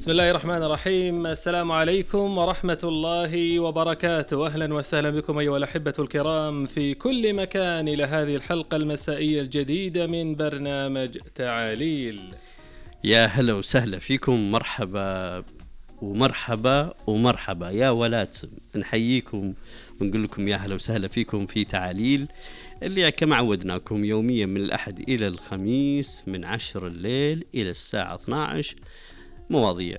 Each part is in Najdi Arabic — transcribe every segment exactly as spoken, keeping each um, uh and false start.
بسم الله الرحمن الرحيم. السلام عليكم ورحمة الله وبركاته. أهلا وسهلا بكم أيها الأحبة الكرام في كل مكان إلى هذه الحلقة المسائية الجديدة من برنامج تعاليل. يا هلا وسهلا فيكم، مرحبا ومرحبا ومرحبا يا ولاد، نحييكم ونقول لكم يا هلا وسهلا فيكم في تعاليل اللي كما عودناكم يوميا من الأحد إلى الخميس من عشر الليل إلى الساعة اثنا عشر. مواضيع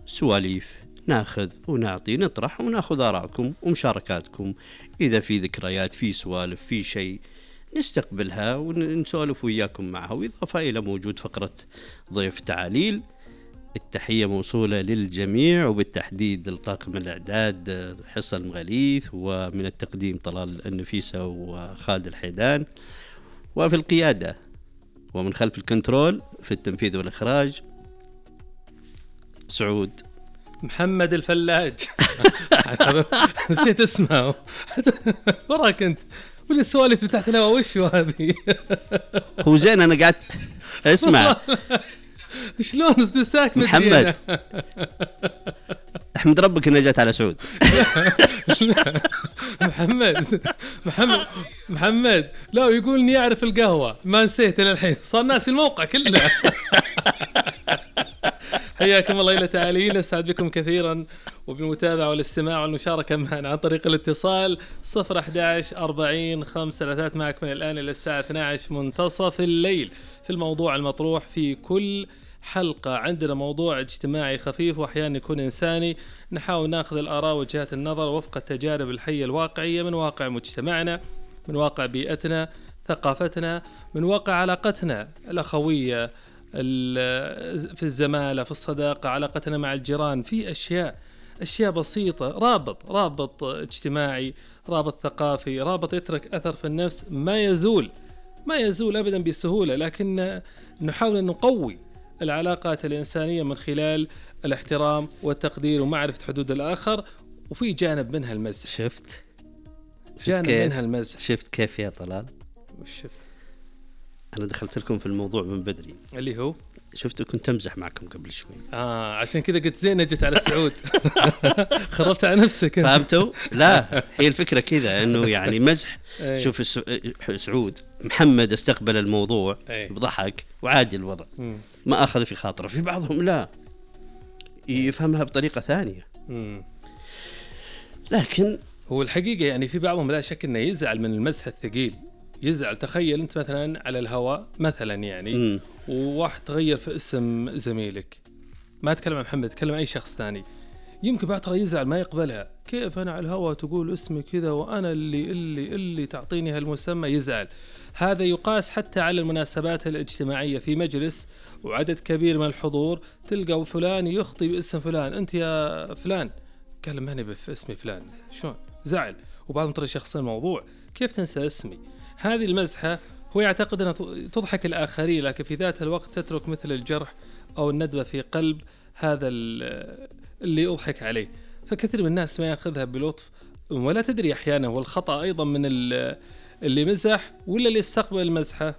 سواليف ناخذ ونعطي، نطرح وناخذ آراءكم ومشاركاتكم. إذا في ذكريات، في سوالف، في شيء نستقبلها ونسولف وياكم معها. وإضافة إلى موجود فقرة ضيف تعاليل. التحية موصولة للجميع وبالتحديد لطاقم الإعداد حصة المغاليث، ومن التقديم طلال النفيسة وخالد الحيدان، وفي القيادة ومن خلف الكنترول في التنفيذ والإخراج سعود محمد الفلاج. نسيت اسمه وراك انت واللي السوالف اللي تحت الهواء وش هذه؟ هو زين انا قاعد اسمع. شلون استساك محمد؟ احمد ربك اني جات على سعود. محمد محمد محمد لا يقول اني اعرف القهوة، ما نسيت الى الحين، صار ناسي الموقع كله. حياكم الله إلى تعاليل، أسعد بكم كثيرا وبالمتابعة والاستماع والمشاركة معنا عن طريق الاتصال صفر أحد عشر أربعين خمسة ثلاثة معك من الآن إلى الساعة اثنا عشر منتصف الليل في الموضوع المطروح في كل حلقة. عندنا موضوع اجتماعي خفيف وأحيانا يكون إنساني، نحاول ناخذ الآراء وجهات النظر وفق التجارب الحية الواقعية من واقع مجتمعنا، من واقع بيئتنا، ثقافتنا، من واقع علاقتنا الأخوية، في الزمالة، في الصداقة، علاقتنا مع الجيران، في أشياء أشياء بسيطة، رابط رابط اجتماعي، رابط ثقافي، رابط يترك أثر في النفس ما يزول ما يزول أبدا بسهولة، لكن نحاول أن نقوي العلاقات الإنسانية من خلال الاحترام والتقدير ومعرفة حدود الآخر. وفي جانب منها المزح. شفت جانب منها المزح. شفت كيف يا طلال؟ وش شفت؟ أنا دخلت لكم في الموضوع من بدري. اللي هو شفت كنت أمزح معكم قبل شوي. آه عشان كذا قلت زين جت على السعود. خربت على نفسك. فهمتوا؟ لا هي الفكرة كذا إنه يعني مزح. شوف سعود محمد استقبل الموضوع بضحك وعادي الوضع، ما أخذ في خاطره. في بعضهم لا يفهمها بطريقة ثانية. لكن هو الحقيقة يعني في بعضهم لا شك إنه يزعل من المزح الثقيل، يزعل. تخيل أنت مثلا على الهواء مثلا يعني م. وواحد تغير في اسم زميلك، ما أتكلم عن محمد، أتكلم عن أي شخص ثاني، يمكن بعد ترى يزعل ما يقبلها. كيف أنا على الهواء تقول اسمي كذا وأنا اللي اللي اللي تعطيني هالمسمى؟ يزعل. هذا يقاس حتى على المناسبات الاجتماعية في مجلس وعدد كبير من الحضور، تلقى فلان يخطي باسم فلان، أنت يا فلان، قال ماني باسمي فلان، شلون؟ زعل. وبعضهم ترى شخص الموضوع، كيف تنسى اسمي؟ هذه المزحة هو يعتقد أنها تضحك الآخرين، لكن في ذات الوقت تترك مثل الجرح أو الندبة في قلب هذا اللي أضحك عليه. فكثير من الناس ما يأخذها بلطف، ولا تدري أحيانا هو الخطأ أيضا من اللي مزح ولا اللي استقبل المزحة.